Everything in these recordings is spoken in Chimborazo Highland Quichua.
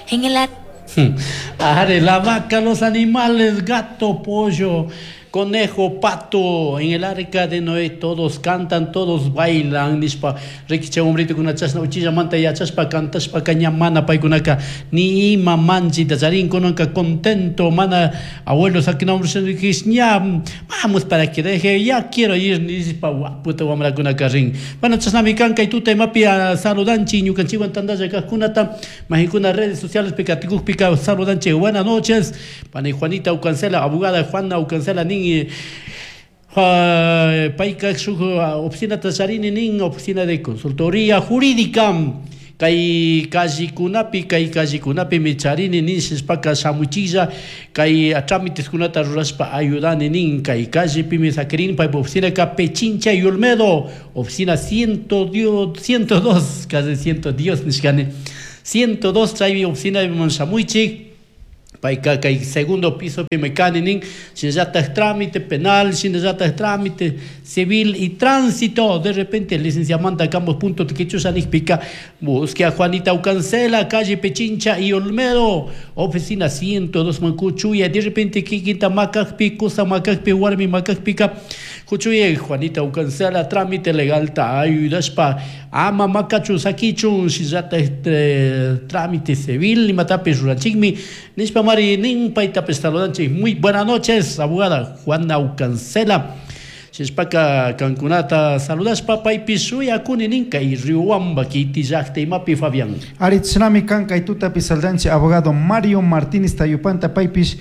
En el Are, la vaca, los animales, gato, pollo, conejo, pato, en el arca de Noé todos cantan, todos bailan, nishpa, rikicha hombritukuna chashna uchillamanta yachashpa cantashpa ña mana paykunaka ni ima manchita charinkunaka contento, mana abuelo saquinamun ña vamos para que deje, ya quiero ir, nishpa waputa wamrakunaka rin. Bueno, chashnami kan kay tuta imapi saludanchik ñukanchikwan tandalla kajkunata, majikuna redes sociales pika saludanchik, buenas noches, pani Juanita Ucancela, abogada Juana Ucancela nin payka shuk oficina charini nin oficina de consultoría jurídica kay callikunapi kay callikunapimi charini nin shishpaka shamuchilla kay trámiteskunata rurashpa ayudani nin kay callepimi sakirin paypa oficina ka Pichincha y Olmedo oficina 102 casi 110 nishkani 102 chaymi oficina shamuychik payka kay segundo piso kani nin shinallatak trámite penal shinallatak trámite civil y tránsito de repente licenciamanta campos punto tiquichusha nikpika busque a Juanita Ucancela calle Pichincha y Olmedo oficina 102 Mancuchuya de repente kikinta makakpi kusa makakpi warmi makakpika Kuchuye Juanita Ucancela trámite legal ta ayudashpa ama makachu sakichun shinallatak trámite civil imatapish ruranchikmi nishpa mari nin paytapish saludanchik muy buenas noches abogada Juana Ucancela shishpaka kankunata saludashpa paypish shuyakuni nin kay Riobamba kiti llakta imapi Fabián. Ari chashnami kan kay tutapi saludanchik abogado Mario Martínez Tayupanta paypish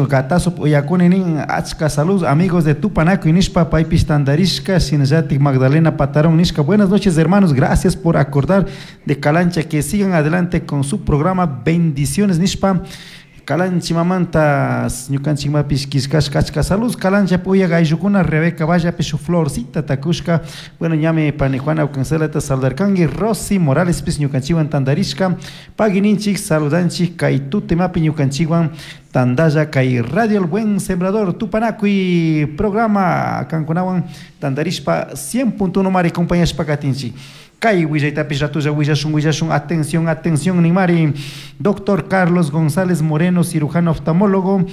gatazo uyakuni nin achka salud amigos de Tupanakuy nishpa paypish tandarishka shinallatik Magdalena Patarón nishka buenas noches hermanos, gracias por acordar de Calancha, que sigan adelante con su programa, bendiciones nishpa Kalanchimamanta ñukanchikmapish killkashka achka salud Calancha puya gayllukuna Rebeca Vallapish shuk florcita takushka bueno ñami pani Juana Ucancelata saludarkanki Rosy Morales pis ñukanchikwan tandarishka pagininchik saludanchik kay tutemapi ñukanchikwan tandalla kay Radio El Buen Sembrador Tupanakuy programa kankunawan tandarishpa 100.1 mari compañashpa katinchik kay willaytapish ratulla willashun willashun atención atención nimari doctor Carlos González Moreno cirujano oftalmólogo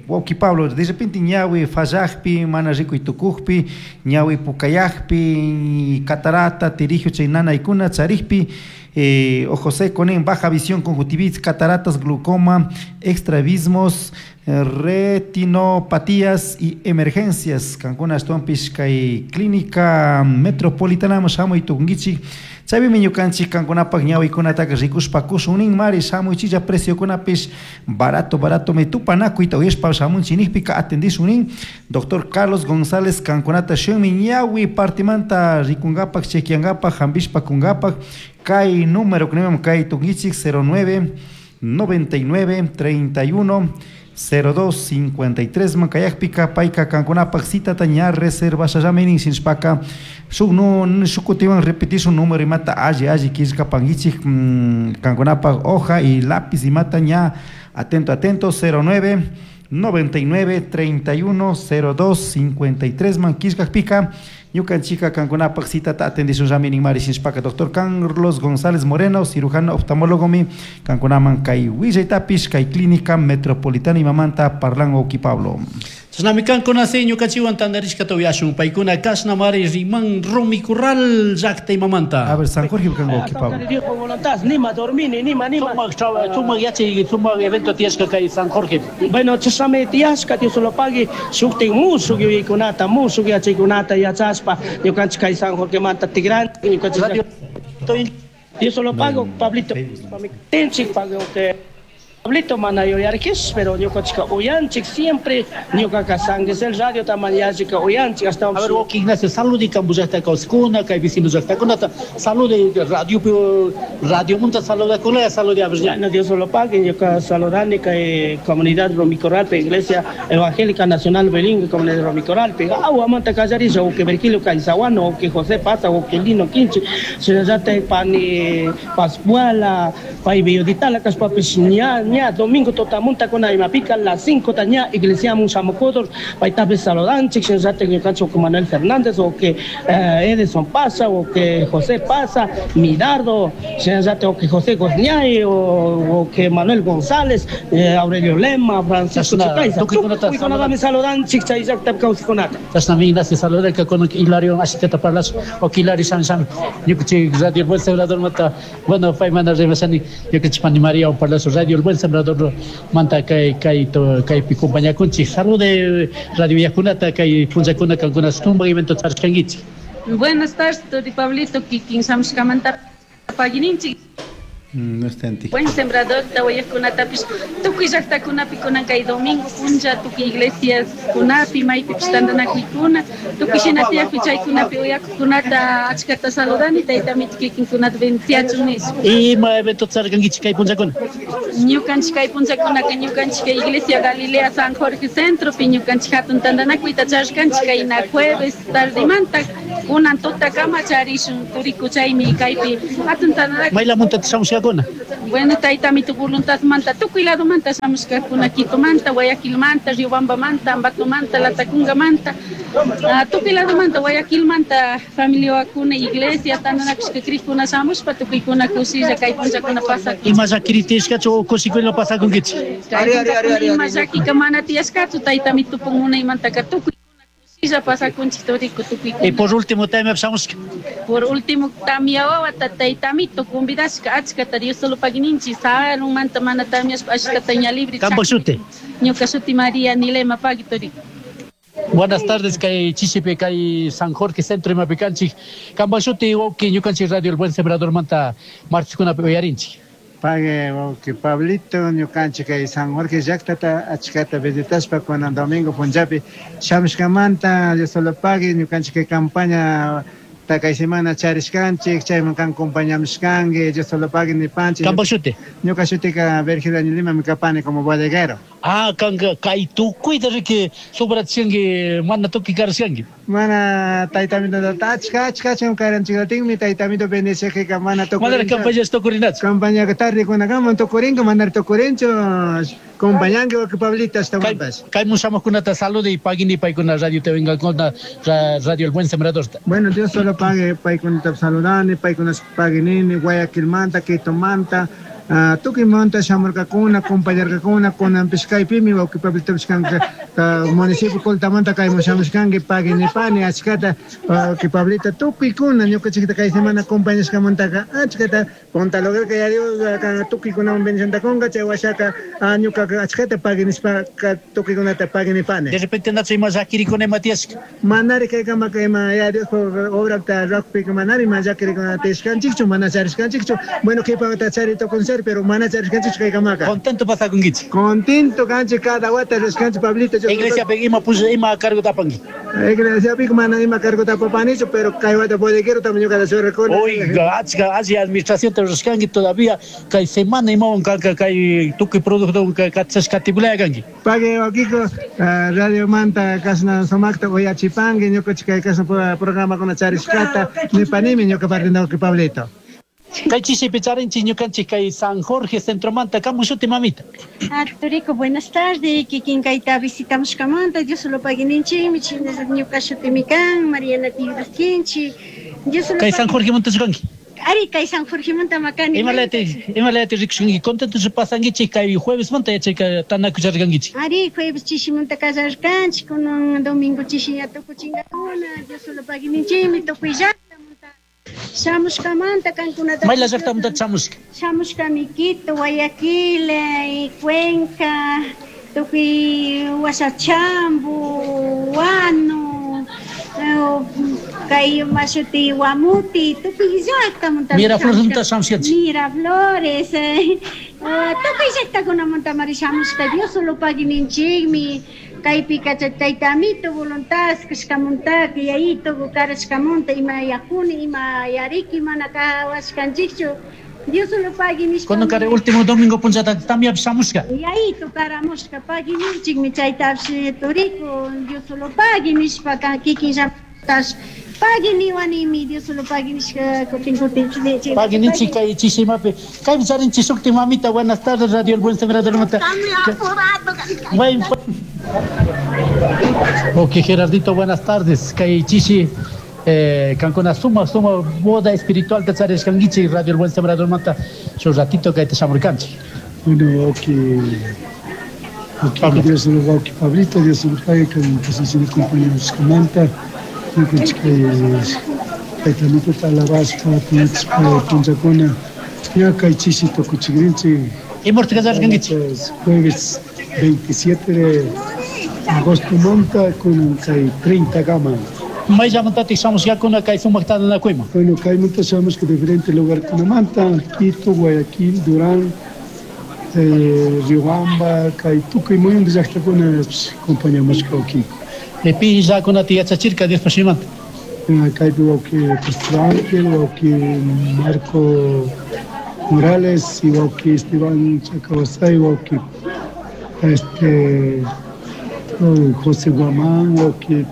wawki Pablo de repente ñawi fallajpi mana rikuy tukujpi ñawi pukayajpi catarata tirigio chay nanaykuna charikpi ojo seco nin baja visión conjuntivitis cataratas glaucoma estrabismos retinopatías y emergencias kankuna ashtawanpish kay clínica metropolitana shamuy tukunkichik chaypimi ñukanchik kankunapak ñawikunataka rikushpa kushun nin mari shamuychilla preciokunapish barato barato mi tupanakuyta uyashpa shamunchik nijpika atendishun nin doctor Carlos González kankunata shunmi ñawi partimanta rikungapak chequeangapak hampishpa kungapak kay número kunimam kay tukunkichik 09 99 31 02 53 mankayakpika payka kankunapak citata ña reservashallami nin shinshpaka shuk nu shuk kutiwan repetishun número imata alli alli killkapankichik kankunapak hoja y lápiz imata ña atento atento 09 99 31 02 53 man killkakpika ñukanchika kankunapak citata atendishunllami nin mari shinshpaka doctor Carlos González Moreno cirujano oftalmólogomi kankunaman kay willaytapish kay clínica metropolitana imamanta parlan wawki Pablo. Chashnami kankuna si ñukanchikwan tandarishkata uyashun paykuna kashna mari riman Rumi Corral llakta imamanta. A ver San Jorge kan wawki Pablo. Voluntad, nima dormini, nima nima. Sumak sumak yachay sumak evento tiyashka kay San Jorge. Bueno, chashnami tiyashka Dios lo pague shuktin mushuk yuyaykunata mushuk yachaykunata yachashpa ñukanchik kay San Jorge manta tigran ñukanchik Dios lo pago Pablito tenchik pago que Pablito mana yuyarkis, pero ñukanchika uyanchik siempre ñukaka San Gisel radio taman yallika uyanchik hasta A ver, wawki Ignacio, saludi kampu llaqta kawsakuna, kay vecino llaqtakunata, salude radio radio munta saludakuna, salude a ver. Bueno, Dios lo pague, ñuka saludani kay comunidad Rumicorralpe, Iglesia Evangélica Nacional Bilingüe, comunidad Rumicorralpe, awa manta kallarisha, o que Virgilio Caizahuano, o que José Pasa, o que Lino Quinche, shinallata pani Pascuala, pay Bioditala, kashpapis ña ña domingo totamunta con imapika las 5 taña iglesia mushamokodor paytapis saludanchik shinallata ñukanchik o Manuel Fernández o que Edison Pasa o que José Pasa Midardo Shinallata wawki José Gosñay, wawki Manuel González, Aurelio Lema, Francisco Chicaiza, tukuykunatami saludanchik chay llaktapi kawsajkunata. Chashnami Ignacio saludarka kunan Hilario ashitata parlashun. Wawki Hilario shami shami ñukanchik Radio El Buen Sembradormanta, bueno, pay mana rimashani ñukanchik pani Mariawan parlashun Radio El Buen Sembradormanta kay kay kaypi compañakunchik. Salude radio yakunata kay punllakuna kankuna sumak evento charishkankichik. Buenas tardes, Turi Pablito, kikin shamushkamanta pagininchik. No está en ti. Buen Sembrador tawayajkunatapish tukuy llaktakunapi kunan kay domingo punlla tukuy iglesiaskunapi maypipish tantanakuykuna tukuy shina tiyakpi chaykunapi uyakuqkunata achkata saludani tayta amito kikinkunata bendiciachun nishpa. Ima evento charishkankichik kay punllakuna? Ñukanchik kay punllakunaka ñukanchik kay Iglesia Galilea San Jorge Centropi ñukanchik hatun tantanakuyta charishkanchik kayna jueves tardemanta kunan tutakama charishun turiku chaymi kaypi hatun tantanakuy. Maylamuntataq shamushkakuna? Bueno, tayta amito voluntadmanta tukuy ladomanta shamushkakuna, Quitomanta, Guayaquilmanta, Riobambamanta, Ambatomanta, Latacungamanta, tukuy ladomanta, Guayaquilmanta, familiakuna, iglesia, tantanakushka crikuna shamushpa tukuykuna kushilla kay punllakuna pasakun. Ima llakiri tiyashkachu o kushikuyla pasakunkichik? Kay punllakuna ima llakika mana tiyashkachu, tayta amito munaymantaka tukuykuna kushilla pasakunchik turiku tukuykuna. Y por último, tamia shamushka. Por último, tamia wawata tayta amito convidashka achkata Dios solo pagininchik, sarunmanta mana tamiashpa achkata ña libre. Kampak shuti. Ñuka shuti María Nilema Pagui turiku. Buenas tardes, kay Chishipi, kay San Jorge Centro imapi kanchik. Kampak shuti wawki ñukanchik Radio El Buen Sembrador manta marchikunapi uyarinchik. Pague wawki Pablito, ñukanchik kay San Jorge llaktata achkata visitashpa kunan domingo punllapi shamushkamanta Dios solo pague ñukanchik kay campaña kay semana charishkanchik, chayman kan acompañamishkanki, Dios solo pague nipanchik. Kampak shuti? Ñuka shutika Virgilio Lima mi kapani como bodeguero. Ah, kanka kay tukuyta riki sobrachinki mana tukuy karashkanki. Mana tayta amito achka achka achka karanchikllatinmi tayta amito bendeciqika mana tukurinchu. Mana campaña tukurinachu. Campaña tarde kunakaman tukurinka mana tukurinchu. Compañanki wawqi Pablito ashtawanpas. Kay mushamuqkunata salude y pagini paykuna radio te vengakuna Radio El Buen Sembrador. Bueno, Dios solo pague paykunata saludani, paykuna paguinini Guayaquilmanta, Quitomanta, tukuymanta shamurkakuna, compañarkakuna, kunanpish kaypimi wawqi Pablitopish kanka, municipio Coltamanta kayman shamushkanki, paguinipani achkata wawqi Pablito tukuykuna ñukanchikta kay semana compañashkamantaka achkata punta lograrka ya Dios tukuykunawan bendicionta kunka, chay washaka ñukaka achkata paguinishpa tukuykunata paguinipani. De repente nacho ima llakirikuna ima tiyashka. Manari kaykamaka ima ya Dios obrata rurakpika manari ima llakirikuna tiyashkanchikchu, mana charishkanchikchu. Bueno, qhipata chari tukunchari, pero mana charishkanchikchu kaykamaka. Contento pasakunkichik. Contento kanchik cada wata rishkanchik Pablito. Iglesia pe ima push ima cargo tapanki. Iglesia pe mana ima cargo tapapanichu, pero kay wata bodeguero también ñuka churarkuni. Oiga, achka alli administración te rishkanki todavía kay semana imawan kanka kay tukuy producto kachashkatipulaya kanki. Pague wakiko radio manta kasna sumakta uyachipanki ñukanchik kay kasna programakuna charishkata nipanimi ñuka parte wawqi Pablito. Kay chishipi charinchik ñukanchik kay San Jorge Centromanta, kamu shuti mamita. Turiku, buenas tardes, kikin kayta visitamushkamanta, Dios solo paguininchikmi, chinallataq ñuka shutimi kan, Mariana Tigras Kinchi. Dios solo Kay San Jorge manta shukanki. Ari, kay San Jorge manta makani. Imalati rikushkanki, contento pasankichik kay jueves manta yachayka tanakucharkankichik. Ari, jueves chishimanta kallarkanchik, kunan domingo chishiña tukuchinkakuna, Dios solo paguininchikmi, tukuy llaktamanta. Shamushkamanta kankunata. Mayla llaktamanta shamushka. Shamushkami Quito, Guayaquil, Cuenca, tukuy Huasachambo, Huano, kay mashuti Guamuti, tukuy llaktamanta. Miraflores manta shamushkanchik. Miraflores, tukuy llaktakunamanta mari shamushka, Dios solo paguininchikmi. Kaypi tayta amito voluntad kashkamunta yayito karashkamunta ima yakuni ima yariki mana kawashkanchikchu Dios solo pagui nishpa. Cuando kare último domingo punllata también shamushka. Yayito karamushka paguininchikmi chaytapish turiku Dios solo pagui nishpa kikin llaktash pagui niwanimi Dios solo pagui nishpa kutin kutin chile. Paguininchik kay chishimapi kaypi charinchik shukti mamita, buenas tardes Radio El Buen Sembrador manta. Buen Ok, Gerardito, buenas tardes. Kay chishi Kankuna suma suma boda espiritual charishkankichik Radio El Buen Sembrador manta shu ratito kayta shamurkanchik. Bueno, wawki, Pablo. Dios lo wawki Pablito, Dios lo pague con posición de compañeros manta, ñukanchik kay tayta alabashpa punchpa punchakuna ña kay chishi tukuchikrinchik. Imurta kasharkankichik? Jueves 27 de agosto manta kunan kay 30 kaman. Mayllamantatik shamushkakuna kay sumak tantanakuyman? Bueno, kaymanta shamushka diferente lugarkunamanta, Quito, Guayaquil, Durán, Riobamba, kay tukuy muyunta llaqtakuna compañamushka wawkiyku. Pi llakunata yachachirka Diospa shimanta? Kaypi wawki Pastor Ángel, wawki Marco Morales y wawki Esteban Chacabasay, wawki José Guamán, wawki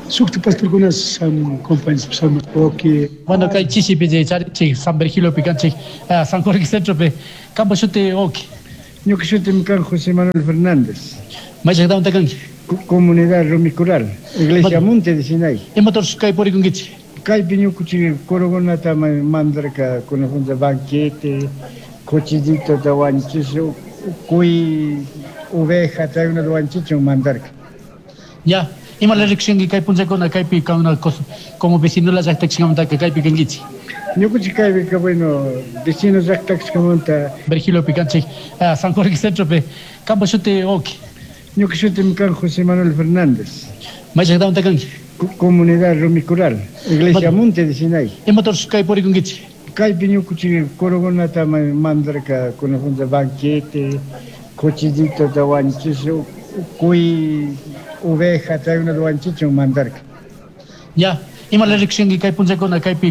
shukti pastorkuna sham compañeros shamushka wawki. Bueno, kay chishipi charinchik San Virgiliopi kanchik, San Jorge Centropi. Kampa shuti wawki? Ñuka shutimi kan José Manuel Fernández. May llaqtamanta kanki? Comunidad Rumicural, Iglesia Monte de Sinai. Imatarsh kay purikunkichik? Kaypi ñukuchik kurukunata mandarka kunajunta banquete, cuchillitota wanchish, cuy, oveja, chaykunata wanchichun mandarka. Ya, ima riksinki kay punchakuna kaypi kankuna como vecino la llaqtakashkamantaka kaypi kankichik? Ñukuchik kaypika, bueno, vecino llaqtakashkamanta. Virgiliopi kanchik, San Jorge Centropi. Kampa shuti wawki? Ñuka shutimi kan José Manuel Fernández. May llaqtamanta kanki? Comunidad Rumicural, Iglesia Monte de Sinai. Imatarsh kay purikunkichik? Kaypi ñukuchik kurukunata mandarka kunajunta banquete, cuchillitota wanchish, cuy, oveja, chaykunata wanchichun mandarka. Ya, ima riksinki kay punchakuna kaypi.